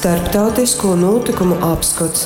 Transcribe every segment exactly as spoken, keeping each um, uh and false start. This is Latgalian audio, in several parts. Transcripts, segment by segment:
Starptautisko nūtykumu apskots.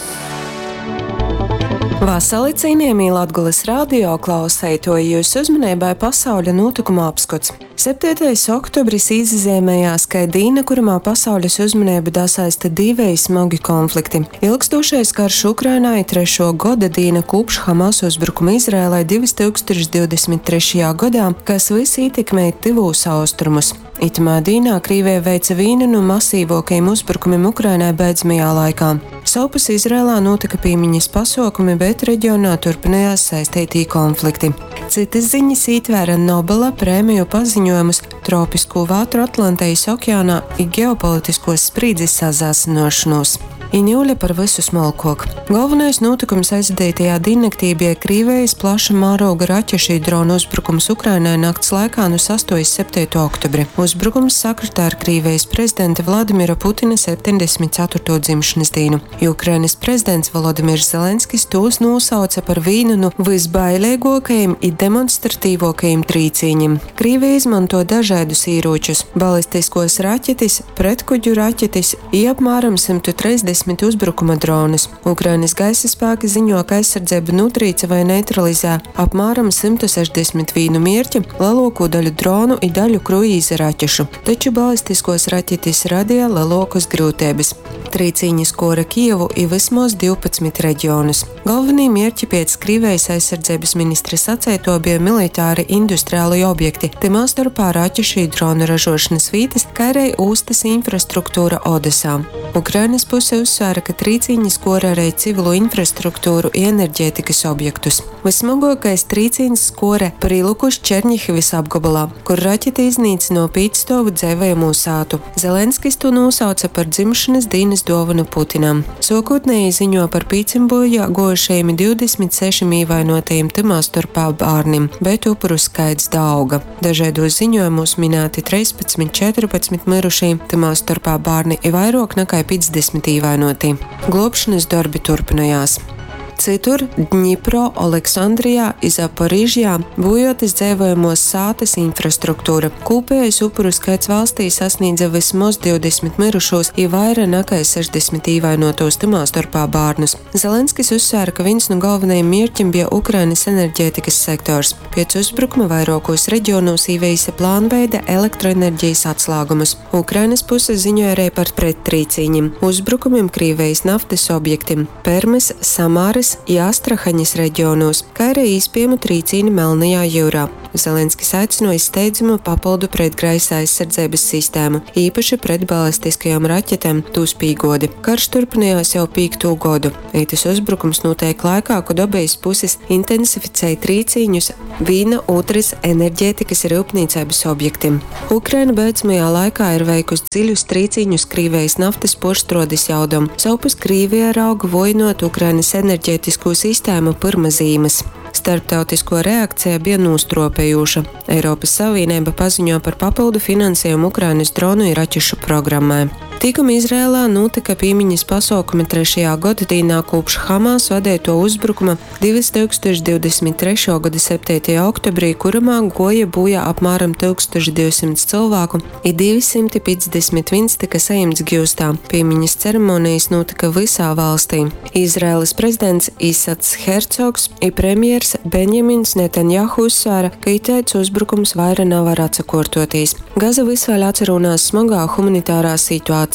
Vasali, cienījamī Latgolys radio klauseituoji, jūsu uzmaneibai pasauļa nūtykumu apskots. Septeitais oktobris īzazeimējās kai dīna, kurymā pasauļas uzmaneibu dasaista diveji smogi konflikti. Ilgstūšais karš Ukrainā i trešuo goda dīna kūpš Hamas uzbrukuma Izraelai divi tūkstoši divdesmit trešajā godā, kas vys ītekmej Tyvūs Austrumus. Itamā dīnā Krīveja veica vīnu nu masīvuokajim uzbrukumim Ukrainai beidzamajā laikā. Sovpus Izraelā nūtyka pīmiņas pasuokumi, bet regionā turpinājās saisteitī konflikti. Cytys ziņas ītvēra Nobela prēmiju paziņojumus, tropiskū vētru Atlantejis okeānā i geopolitiskuos sprīdzis sasāsynuošonūs. I niule par vysu smolkuok. Golvonais nūtykums aizvadeitajā dīnnaktī bija Krīvejis plaša mārūga raķešu i dronu uzbrukums Ukrainai nakts laikā nu sastuo iz septeitū oktobri. Uzbrukums sakritā ar Krīvejis prezidenta Vladimira Putina septeņdesmit ceturtū dzimšanas dīnu. I Ukrainys prezidents Volodimirs Zelenskis tūs nūsauce par vīnu nu vysbaileiguokajim i demonstratīvuokajim trīcīņim. Krīvija izmanto dažaidus īrūčus – balistiskuos raķetis, pretkuģu raķetis i apmēram symtu treisdesmit uzbrukuma dronus. Ukrainas gaisa spēki ziņo, ka aizsardzība nutrīca vai neutralizē apmēram symtu sešdesmit vīnu mierķi, lielāko daļu dronu i daļu kruīza raķešu. Taču balistiskos raķetis radīja lielākas grūtības. Trīcīņas skora Kijevu i vismaz divpadsmit reģionus. Galvenie mierķi pēc Krīvijas aizsardzības ministra sacēto bija militāri industriāli objekti, timā starpā raķešu i dronu ražošanas vītas, kā arī ūstas infrastruktūra Odesā. Ukrainas puse uzsvēra, ka trīcīņas skora arī civilu infrastruktūru i enerģētikas objektus. Vissmagākais trīcīņas skora Prilukus Černihivis apgabalā, kur raķete iznīcino pīcstovu dzēvējumu sātu. Zelenskis to nosauca par dzimšanas dienas dāvanu Putinam. Sākotnēji ziņo par pīcim bojā gojušajiem divdesmit sešiem ievainotajiem timā starpā bērniem, bet upuru skaits dauga. Dažādos ziņojumos minēti trīspadsmit, četrpadsmit mirušie, timā starpā bērni i vairāk nekā piecdesmit ievainoti. Glābšanas darbi turpinājās. Citur Dņipro, Aleksandrijā i Zaporižjā būjotas dzēvojamos sātas infrastruktūra. Kūpējais upuru skaits valstī sasniedza vismaz divdesmit mirušos i vaira nekā sešdesmit ievainotos timā starpā bērnus. Zelenskis uzsvēra, ka viens no galvenajiem mērķiem bija Ukrainas enerģētikas sektors. Pēc uzbrukuma vairākos reģionos ieviesa plānveida elektroenerģijas atslāgumus. Ukrainas puse ziņoja arī par prettrīcīņiem, uzbrukumiem Krīvijas naftas objektiem Permes, Samāras i Astrahaņas reģionos, kā arī īspējamu trīcīni Melnajā jūrā. Zelenskis aicināja steidzamu papildu pretgaisa aizsardzības sistēmu, īpaši pret balistiskajām raķetēm, tūs pīgodi. Karš turpinājās jau pīkto godu. Itis uzbrukums notiek laikā, kad abejas puses intensificēja trīcīņus vīna otras enerģētikas rūpnīcības objektiem. Ukraina beidzamajā laikā ir veikusi dziļus trīcīņus Krīvijas naftas porštrodes jaudam. Savpus Krīvija rauga vojinot Ukrainas enerģētisko sistēmu pirma zīmes. Starptautisko reakcija bija nostropējuša. Eiropas Savienība paziņo par papildu finansējumu Ukrainas dronu i raķešu programmai. Tikuma Izrēlā notika pīmiņas pasaukumi trešajā godadīnā kopš Hamas vadīto uzbrukuma divi tūkstoši divdesmit trešo gada septītajā oktobrī, kuramā goja būja apmēram tūkstoš divsimt cilvēku i divi simti piecdesmit viens tika saimts giustā. Pīmiņas ceremonijas notika visā valstī. Izraēlas prezidents Isats Hercogs i premjers Benjamins Netanjahu uzsvēra, ka iteic uzbrukums vaira nav var atsakortotīs. Gaza vis vēl atcerunās smagā humanitārā situācijā.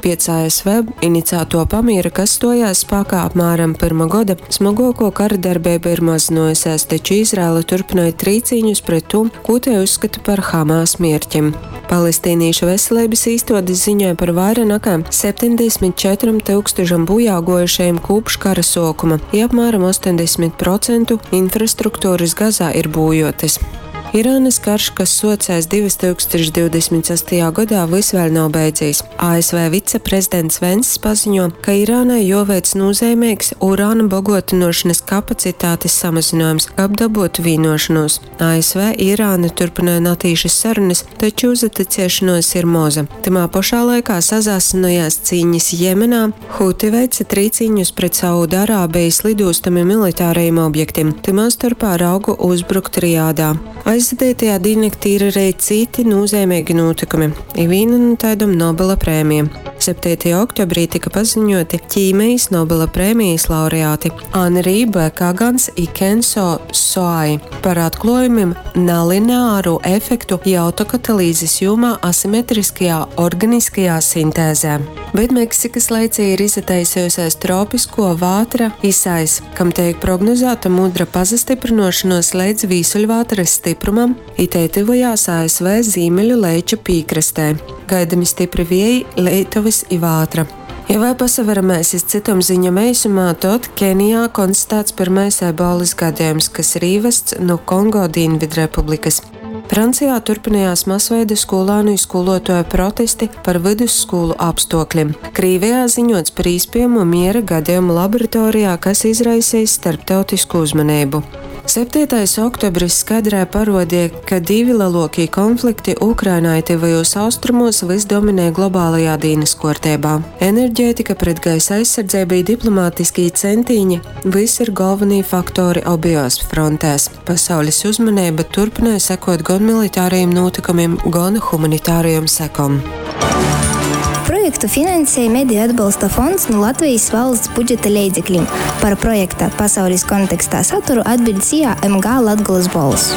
Pēc A S V inicēto pamiera, kas stojās spēkā apmēram pirma gada, smagāko kara darbība ir mazinājusies, taču Izraela turpināja trīcīņus pret to, ko te uzskata par Hamas mērķiem. Palestīniešu veselības īstodes ziņoja par vairāk nekā septiņdesmit četriem tūkstošiem bojā gojušajiem kopš kara sākuma, i apmēram astoņdesmit procentu infrastruktūras Gazā ir būjotas. Irānas karš, kas socēs divi tūkstoši divdesmit sastajā gadā, vis vēl nav beidzies. A S V viceprezidents Venss paziņo, ka Irānai joveic nozīmīgs urāna bagotinošanas kapacitātes samazinājums, apdabot vienošanos. A S V Irāna turpināja natīšas sarunas, taču uzticēšanos ir moza. Timā pašā laikā sazāsinojās cīņas Jemenā, Huti veica trīcīņus pret Saudārābijas lidostami militārajiem objektiem, timā starpā raugu uzbrukt Riādā. Aizvadeitajā dīnnaktī ir arī citi nūzeimeigi nūtykumi, i vīna nu taidom Nobela prēmija. septeitajā oktobrī tyka paziņuoti ķīmejis Nobela prēmejis laureati Anri B. Kagans i Kenso Soai par atkluojumim nalineāru efektu i autokatalīzis jūmā asimetriskajā organiskajā sintēzē. Bet Meksikas leicī ir izataisejusies tropiskuo vātra Isais, kam teik prognozāta mudra pasastyprynuošonuos leidz vīsuļvātrys styprumam, i tei tyvojās A S V zīmeļu leiča pīkrastē. Gaidami stypri vieji, leitovys i vātra. Ja vēl pasaveramēs iz cytom ziņom eisumā, tod Kenijā konstatāts pyrmais ebolas gadejums, kas ir īvasts nu Kongo Dīnvidrepublikys. Francijā turpinājās masveida skolānu i skolotuoju protesti par vidusskolu apstuokļim. Krīvijā ziņots par īspējamo miera gadejumu laboratorijā, kas izraisījis starptautisku uzmanību. septītais oktobris skaidrai parodīja, ka divi lielākie konflikti Ukrainā i Tyvajos Austrumos vys dominē globālajā dīnas kuortībā. Enerģētika, pretgaisa aizsardzība i diplomātiskī centīņi vys ir galvenī faktori obejos frontēs. Pasaules uzmanība turpināja sekot gan militārajiem nūtykumim, gan humanitārajom sekom. Projektu finansēja Mediju atbalsta fonds nu Latvejis valsts budžeta leidzeklim. Par projekta Pasaulis kontekstā saturu atbiļd S I A M G Latgolys Bolss.